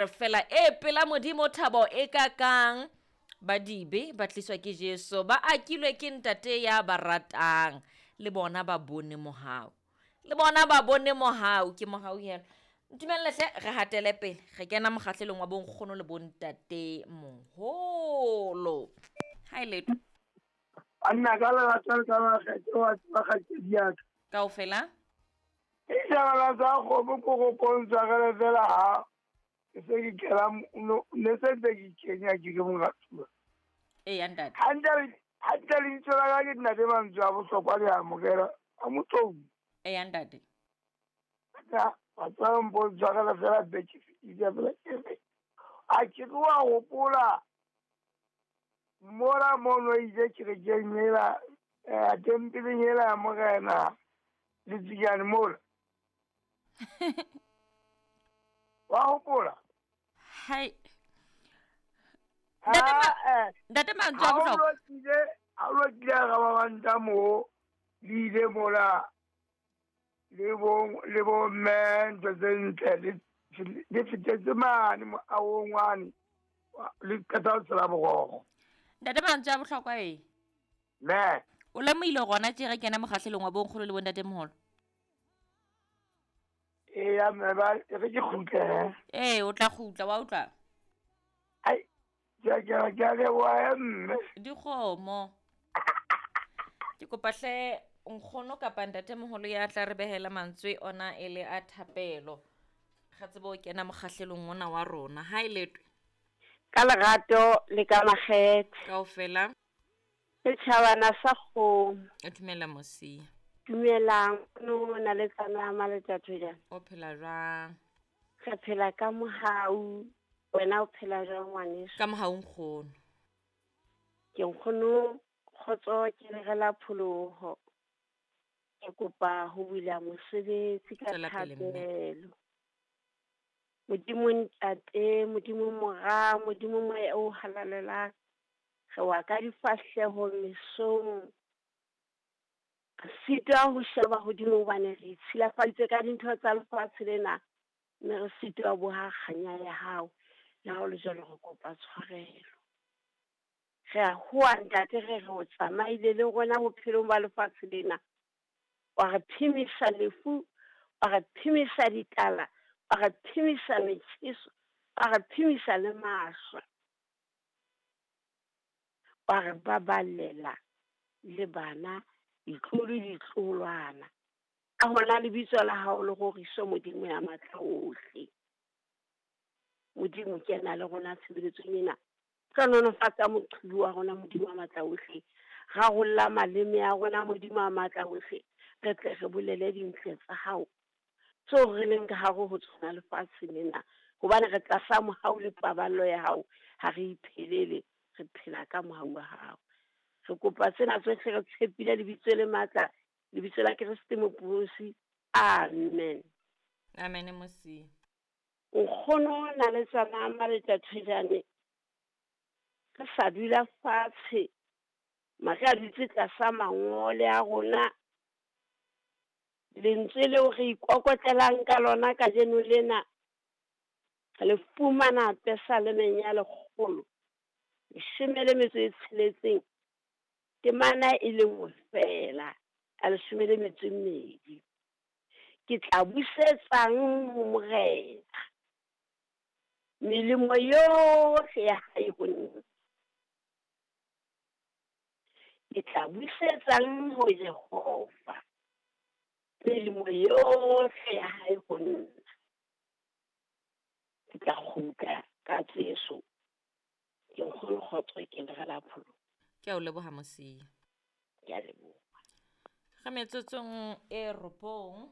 Re fela e pela Modimo thabo e kakang ba dibe ba tliswa ke Jesu ba akilwe ke ntate ya ba ratang le bona ba bone mohau le bona ba bone mohau ke mohau helo ntumelle hle re hatele pele re kena mokgahlelong wa bonkgono le bontate moholo ha e letho Banna ka lerato le ka makgethe wa tseba kgaitsedi ya ka. Kaofela. Ditjhabana tsa kgomo ko go pontshagele fela ha ke se ke kena ne se ntse ke kenya ke le moratuwa. Eya ntate. Hantle hantle lebitso la ka ke nna le mantswe a bohlokwa le amogela a motlou. Eya ntate. Ka batho ba mpontshagela fela beke fetile fela ke re a ke re wa gopola Mola mono ile kerekeng yela, eh, tempeleng yela ya Morena, Letsinyane mola. Wa hopola? Hai. Ntate ma, Ah, eh, ntate mantswe a ha o bohlokwa. lokile, ha o lokile ga ba banta mo, le ile mola, le bo, le bo mme ntho tse ntle, le, le fetetse mane moahong wane. Le qeta ho tshela borokgo. Ntate mantswe a bohlokwa e. Ne. O lemohile gona tše ge kena mokgahlelong wa bonkgolo le bontatemoholo? Eya mme ba e re ke kgutle he. Ee, o tla kgutla wa utlwa. Ai, ke a ke a ke a leboha he mme. Dikgomo. Ke kopa hle nkgono kapa ntatemoholo ya tla re behela mantswe ona e le a thapelo. Ga tsebe o kena mokgahlelong ona wa rona. Ha e letwe. Ka lerato le ka makgethe. Kaofela. Setjhabana sa kgomo. E dumela Mosia. Dumelang, no na le tsana maletjatho jang? O phela jwang? Re phela ka mohau. Wena o phela jwang ngwaneso? Ka mohau nkgono. Ke nkgono kgotso ke lerela pholoho. Ke kopa ho bula mosebetsi ka Tswela pele mme. thapelo. Modimo Ntate, Modimo Mora, Modimo Moya o halalelang. Re wa ka difahleho mesong. Re sitwa ho sheba hodimo hobane re itshilafaditse ka dintho tsa lefatshe lena, mme re sitwa ho boha kganya ya hao. Le ha ho le jwalo re kopa tshwarelo. Re a hoa ntate re re o tsamaile le rona bophelong ba lefatshe lena. Wa re phemisa lefu, wa re phemisa ditala, wa re phemisa metjheso, wa re phemisa le mahlwa. Wa re baballela le bana, ditlolo ditloholwana. Ka hona lebitso la hao le roriswe Modimo ya matla ohle. Modimo kena le rona tshebeletsong ena. Hlohonolofatsa moqhubu wa rona Modimo wa matla ohle. Rarolla maleme a rona Modimo wa matla ohle. Re tle re bolele dintle tsa hao tseo re leng ka hare ho tsona lefatsheng lena. Hobane re tlasa mohau le paballo ya hao, ha re iphelele, re phela ka mohau wa hao. Re kopa tsena tsohle re tshepile lebitso le matla, lebitso la Kreste Mopholosi. Amen. Amen Mosia. Nkgono na le tsana maletjatjhejane. Re sa dula fatshe, mare a dutse tlasa mangole a rona. Lentswe leo re ikokotlelang ka lona kajeno lena, re le fumana Pesalemeng ya 116, temana e le nngwe fela, ya 12. Ke tla busetsang ho Morena melemo yohle ya hae ho nna. Ke tla busetsang ho Jehova melemo yohle ya hae ho nna. Ke tla kgutla ka Jesu. Ke nkgono kgotso ke le rela pholo. Ke a o leboha Mosia. Ke a leboha. Re metsotsong e 9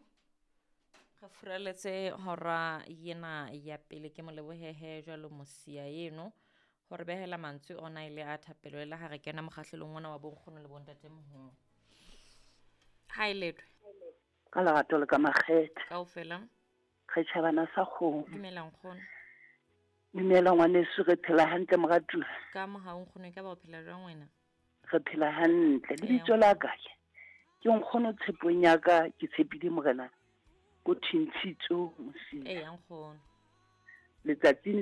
re furaletse hora yena ya pele. Ke mo lebohehe jwalo Mosia eno hore behela mantswe ona e le a thapelo le ha re kena mokgahlelong ona wa bonkgono le bontatemoholo. Ha e letwe. Ka lerato le ka makgethe. Kaofela. Re tjhabana sa kgomo. Dumela nkgono. Dumela ngwaneso, re phela hantle moratuwa. Ka mohau nkgono, e ka ba o phela jwang wena? Re phela hantle. Lebitso la ka ke nkgono tshepong ya ka, ke tshepile Morena ko Thintshitso Mosia. Eya nkgono. Letsatsing